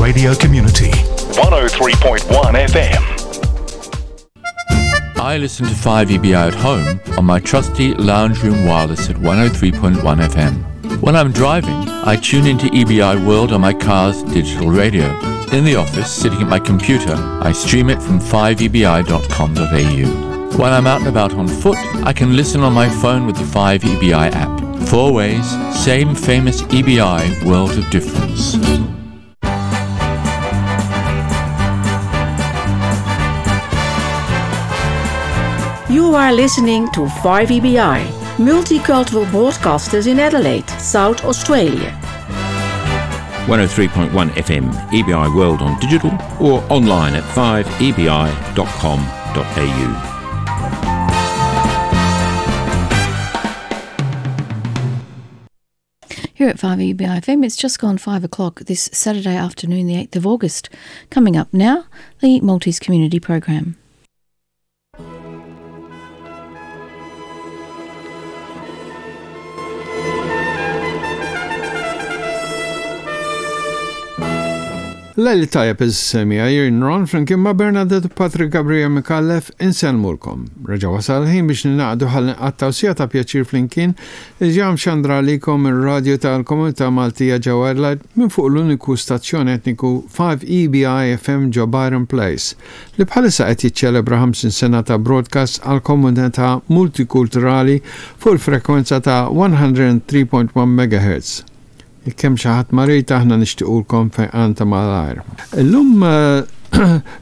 radio community. 103.1 FM. I listen to 5EBI at home on my trusty lounge room wireless at 103.1 FM. When I'm driving, I tune into EBI World on my car's digital radio. In the office, sitting at my computer, I stream it from 5ebi.com.au. When I'm out and about on foot, I can listen on my phone with the 5EBI app. Four ways, same famous EBI world of difference. You are listening to 5EBI, multicultural broadcasters in Adelaide, South Australia. 103.1 FM, EBI World on digital or online at 5ebi.com.au. Here at 5EBI FM, it's just gone 5 o'clock this Saturday afternoon, the 8th of August. Coming up now, the Maltese Community Program. Lejl tajjeb is-semija jien Ron flimkien ma' Bernadette u Patrick Gabriel Micallef insellmulkom. Reġa' wasal il-ħin biex ningħaqdu ħalli nqattgħu siegħa ta' pjaċir flimkien li ġa mxandra għalikom mir-radju tal-komunità Maltija ġewwa Adelaide minn fuq l-uniku stazzjon etniku 5EBI FM ġo Byron Place li bħalissa qed jiċċelebra 50 sena ta' broadcast għall-komunità multikulturali fuq il-frekwenza ta' 103.1 megahertz. Jekk hemm xi ħadd marid aħna nixtiqulkom fejqan ta' malajr. Illum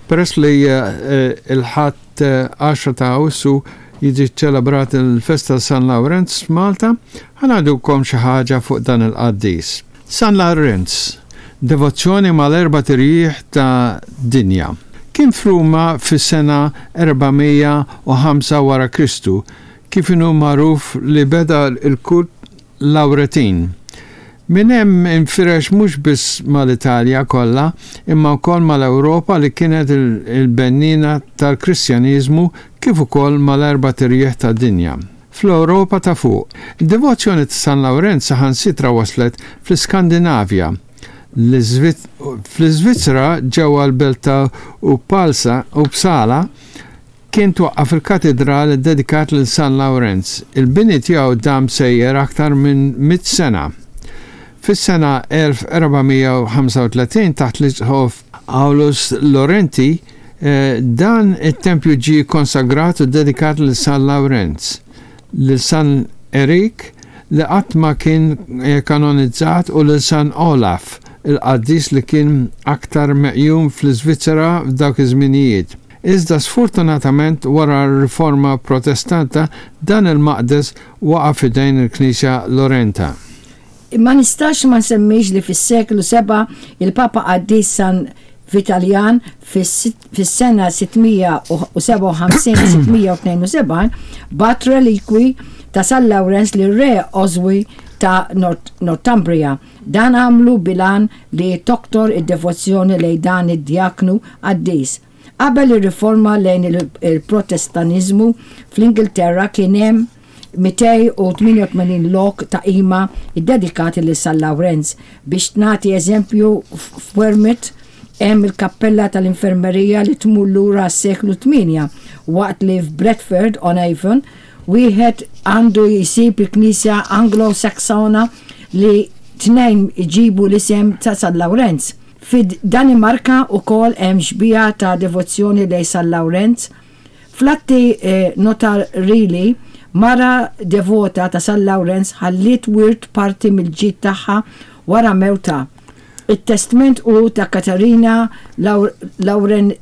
peress li l-Ħadd 10 ta' Awwissu jiġi ċċelebrat il-festa ta' San Lawrenz f'Malta, ħa ngħidulkom xi ħaġa fuq dan il-qaddis. San Lawrenz, devozzjoni mal-erbat irjieħ ta' dinja. Kien f'Ruma fis-sena 405 wara Kristu, kif inhu magħruf li beda l-kult Lawretin. Minn hemm infirex mhux biss mal-Italja kollha imma wkoll mal-Ewropa li kienet il-benniena tal-Kristjaniżmu kif ukoll mal-erbat irjieħ tad-dinja. Fl-Ewropa ta' fuq, id-devozzjoni ta' San Lawrenz saħansitra waslet fl-Iskandinavja, fl-Iżvizzera ġewwa l-belt ta' Uppsala, Kien twaqqaf il-katidral iddedikat lil San Lawrenz. Il-bini tiegħu dam sejjer aktar minn mitt sena. Fis-sena 1435 taħt l-Isqof Aulus Laurenti, dan it-tempju ġie kkonsagrat u ddedikat lil San Lawrenz, lil San Erik li qatt ma kien kanonizzat u lil San Olaf, il-qaddis li kien aktar meqjum fl-Iżvizzera f'dawk iż-żminijiet. Iżda sfortunatament wara r-Riforma Protestanta dan il-maqdes waqa' f'idejn il-Knisja Lorenta. Ma nistax ma nsemmix li fis-seklu sebgħa il-Papa Qaddis San Vitaljan fis-sena 657 672 bagħat relikwi ta' San Lawrenz lir-Re Oswy ta' Northumbria. Dan għamlu bil-għan li toktor id-devozzjoni lejn dan id-djaknu qaddis. Qabel ir-riforma lejn il-Protestaniżmu fl-Ingilterra kien hemm 288 lok ta' qima ddedikati lil San Lawrenz. Biex nagħti eżempju, f'Wearmouth hemm il-kappella tal-infermerija li tmur lura għas-seklu tmienja, waqt li f'Bradford-on-Avon wieħed għandu jsib il-knisja Anglo-Saksona li tnejn iġibu l-isem ta' San Lawrenz. Fid-Danimarka wkoll hemm xbieha ta' devozzjoni lejn San Lawrenz. Fl-atti notarili, mara devota ta' San Lawrenz ħalliet wirt parti mill-ġid tagħha wara mewtha. It-testment hu ta' Katarina Laurendater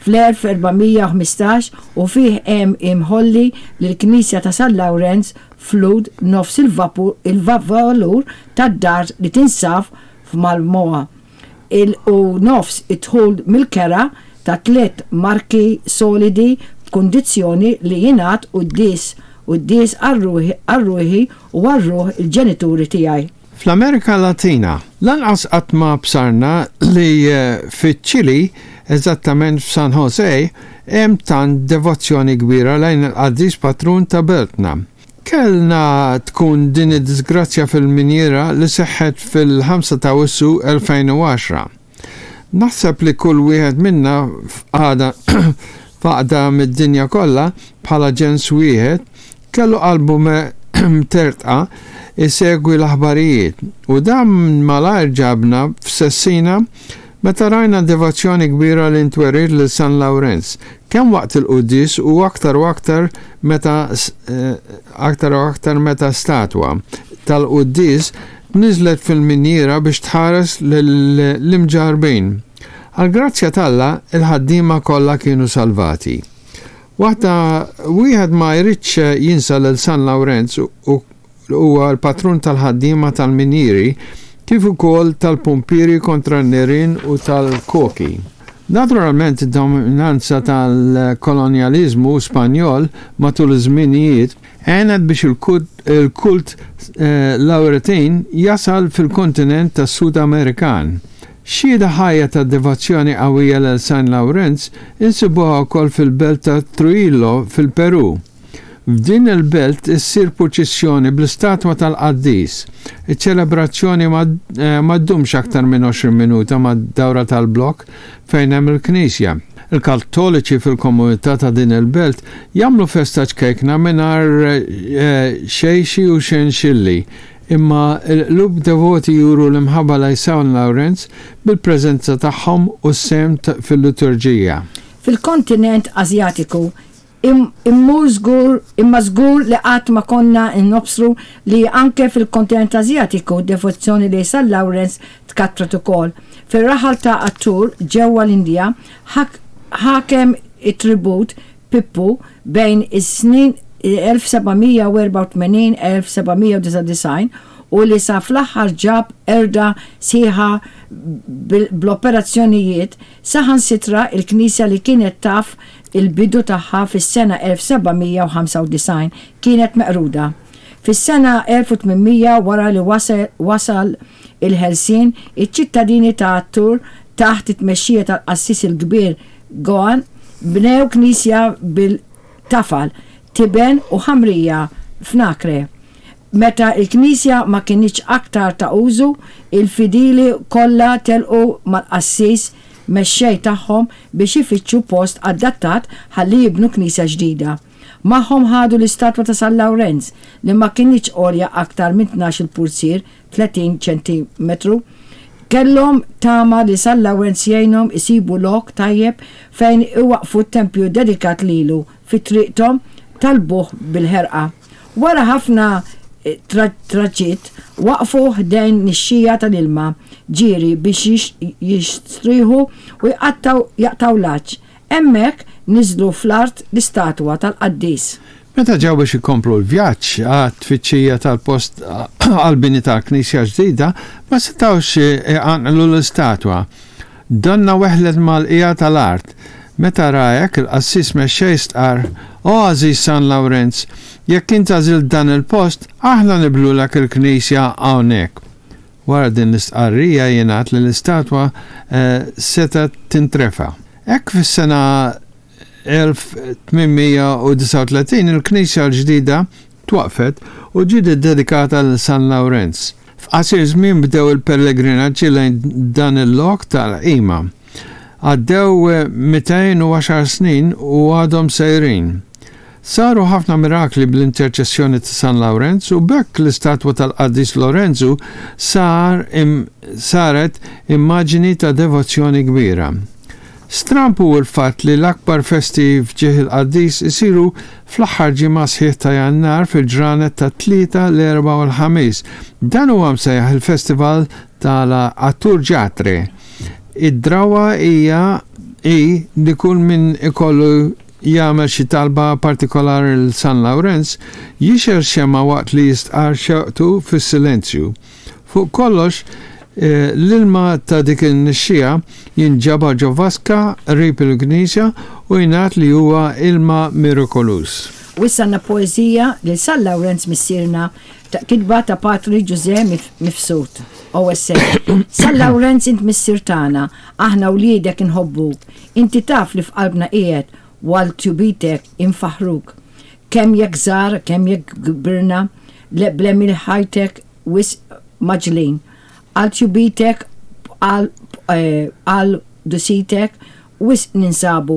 fl-1415 u fih hemm imħolli li l-knisja ta' San Lawrenz f'Lud nofs il-valur tad-dar li tinsab f'Malmö il u nofs id-dħul mill-kera ta' tliet marki solidi b'kundizzjoni li jingħad quddies quddies għal ruħi u għal ruħ il-ġenituri tiegħi. Fl-Amerika Latina, lanqas qatt ma bsarna li fiċ-Ċili, eżattament f'San Jose, hemm tant devozzjoni kbira lejn il-qaddis patrun ta' beltna. Kellna tkun din id-diżgrazzja fil-minjiera li seħħet fil-5 ta' Awwissu 2010. Naħseb li kull wieħed minna f'qagħda f'għaqda mid-dinja kollha bħala ġens wieħed kellu qalbu mtertqa jsegwi l-aħbarijiet u dan malajr ġabna f'sessina meta rajna devozzjoni kbira li ntweriet lil San Lawrenz kemm waqt il-quddies u aktar u aktar meta aktar u aktar meta statwa tal-quddies tniżżlet fil-minjiera biex tħares lill-imġarrbin. Għall-grazzja t'Alla, il-ħaddiema kollha kienu salvati. Waħda wieħed ma jridx jinsa lil San Lawrenz u huwa l-patrun tal-ħaddiema tal-minjieri kif ukoll tal-pumpieri kontra n-nirien u tal-koki. Naturalment id-dominanza tal-kolonjaliżmu Spanjol matul iż-żminijiet għenet biex il-kult Lawretin jasal fil-kontinent tas-Sud Amerikan. Xhieda ħajja ta' devozzjoni qawwija lil San Lawrenz insibuha wkoll fil-belt ta' Trujillo fil-Perù. F'din il-belt issir purċissjoni bl-istatwa tal-qaddis. Iċ-ċelebrazzjoni ma ddumx aktar minn 20 minuta mad-dawra tal-blokk fejn hemm il-knisja. Il-Kattoliċi fil-komunità ta' din il-belt jagħmlu festa ċkejkna mingħajr xejxi u xenxilli, imma l-qlub devoti juru l-imħabba lejn San Lawrenz bil-preżenza tagħhom u s-sehem fil-liturġija. Fil-kontinent Asjatiku, Immur żgur, imma żgur li qatt ma konna nobsru li anke fil-kontinent Asjatiku d-devozzjoni lejn San Lawrenz tkattret ukoll. Fir-raħal ta' Attur ġewwa l-Indja ħakem it-tribut Pippu bejn is-snin 1784-1799 u li sa fl-aħħar ġab qerda sħiħa bl-operazzjonijiet Saħansitra l-knisja li kienet taf il-bidu tagħha fis-sena 1795 kienet meqruda. Fis-sena 1800 wara li wasal il-ħelsien, iċ-ċittadini ta' Attur taħt it-tmexxija tal-qassis il-kbir Goan bnew knisja bil-tafal, tiben u ħamrija f'Nacre. Meta l-knisja ma kinitx aktar ta' użu, il-fidili kollha telqu mal-qassis mexxej tagħhom biex ifittxu post adattat ħalli jibnu knisja ġdida. Magħhom ħadu l-istatwa ta' San Lawrenz, li ma kinitx għolja aktar minn tnax-il purzier, 30 ċentimetru. Kellhom tama li San Lawrenz jgħinhom isibu lok tajjeb fejn iwaqqfu t-tempju dedikat lilu fi triqthom, talbuh bil-ħerqa. Wara ħafna traġitt, waqfu ħdejn nixxija tal-ilma ġieri biex jistrieħu u jaqtgħu l-għatx. Hemmhekk niżlu fl-art l-istatwa tal-qaddis. Meta ġew biex ikomplu l-vjaġġ għat-tfittxija tal-post għall-bini tal-knisja ġdida, ma setgħux iqanqlu l-istatwa. Donnha weħlet mal-qiegħa tal-art. Meta ra hekk, il-qassis mexxej stqarr, O għażiż San Lawrenz, jekk int għażilt dan il-post, aħna nibnulek il-knisja hawnhekk. Wara din l-istqarrija jingħad li l-istatwa setgħet tintrefa'. Hekk fis-sena 1839 il-knisja l-ġdida twaqqfet u ġiet iddedikata lil San Lawrenz. F'qasir żmien bdew il-pellegrinaġġi lejn dan il-lok tal-qima. Għaddew 210 snin u għadhom sejrin. Saru ħafna mirakli bl-interċessjoni ta' San Lawrenz u b'hekk l-istatwa tal-Qaddis Lorenzu sar saret immaġini ta' devozzjoni kbira. Stramb hu l-fatt li l-akbar festi f'ġieħ il-qaddis isiru fl-aħħar ġimgħa sħiħ ta' Jannar fil-ġranet tat-Tlieta, l-Erbgħa u l-Ħamis. Dan huwa msejjaħ il-Festival ta' la Attur Jatre. Id-drawwa hija hi li kull min ikollu jagħmel xi talba partikolari lil San Lawrenz jixgħel xemgħa waqt li jistqarr xewqtu fis-silenzju. Fuq kollox, l-ilma ta' dik in-nixxiegħa jinġabar ġo vaska qrib il-knisja u jingħad li huwa ilma mirikoluż. U issa għandna poeżija lil San Lawrenz Missierna ta' kitba ta' Patri Ġużè Mifsud, OSA. San Lawrenz int missier tagħna, aħna wliedek inħobbuk. Inti taf li f'qalbna qiegħed u għal tjubitek infaħħruk. Kemm jekk żgħar, kemm jekk kbirna, bl-għemil ħajtek wisq mgħaġġlin. Għal tjubitek, għal qdusitek, wisq ninsabu.